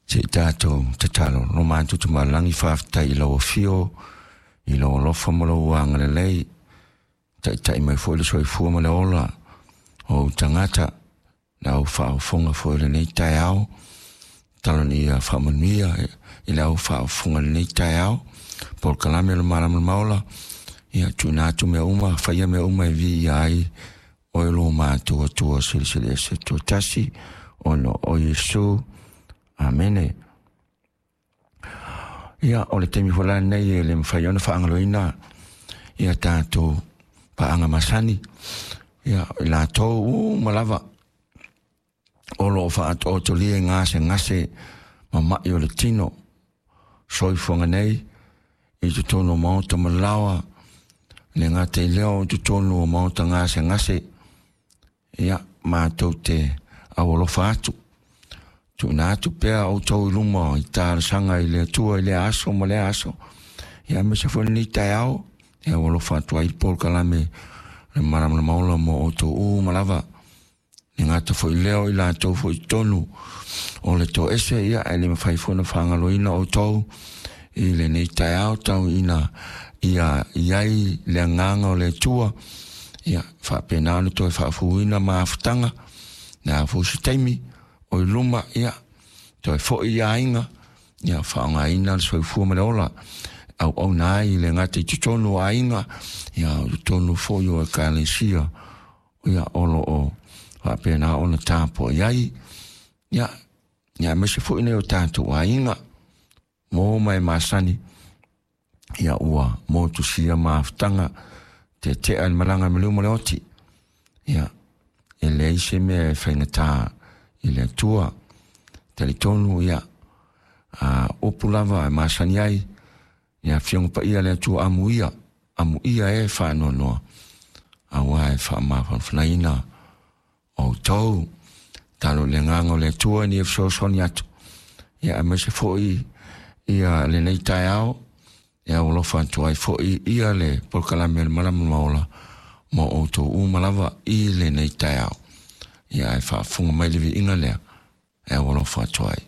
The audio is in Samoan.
Se i tatou tatalo. Lo matou Tama i le Lagi, faafetai i lau afio, i lou alofa ma lou agalelei, taitai mai foi le soifua ma le ola o ou tagata, le au faaofoga foi o lenei taeao, talonia faamanuia i le au faaofoga i lenei taeao, polokalame o le Malamalama Ola, ia tuuina atu mea uma, faia mea uma e viia ai oe lo matou Atua Silisili Ese Toatasi, ona o Iesu. Amene. Ia, o le taimi foi la lenei e le mafai ona faagaloina ia tatou paaga masani, ia i latou uma lava o lo o faatoatolia i gasegase mama'i o le tino soifuaga nei i totonu o maota ma laoa, le gata i lea o totonu o maota gasegase, ia matou te aualofa atu, tuuina atu pea outou i luma i talosaga i le Atua i lea aso ma lea aso, ia aemaise foi lenei taeao, e aualofa atu ai le polokalame le Malamalama Ola mo outou uma lava. Le gata foi lea o i latou foi i totonu o le toese, ia e le mafai foi ona faagaloina outou i lenei taeao, tau ina ia i ai le agaga o le Atua, ia faapena ona toe faafuina mafutaga, le a foi se taimi o i luma, ia toe foi i aiga, ia faaaogaina le soifua ma le ola, auauna ai le gata i totonu o aiga, ia o totonu foi o ekalesia, ia o lo o faapena ona tapuai ai, ia aemaise foi nei o tatou aiga, mo ma e masani, ia ua motusia mafutaga, tetea le malaga ma le uma le oti, ia e leai se mea e faigata i le Atua, talitonu ia upu lava e masani ai, ia afioga paia le Atua amuia, amuia e faanoanoa, aua e faamafanafanaina outou, talo le agaga o le Atua ni e fesoasoani atu, ia aemaise foi ia lenei taeao, e aualofa atu ai foi ia le polokalame o le Malamalama Ola mo outou uma lava i lenei taeao. Ia ae faafofoga mai le viiga lea e aualofa atu ai.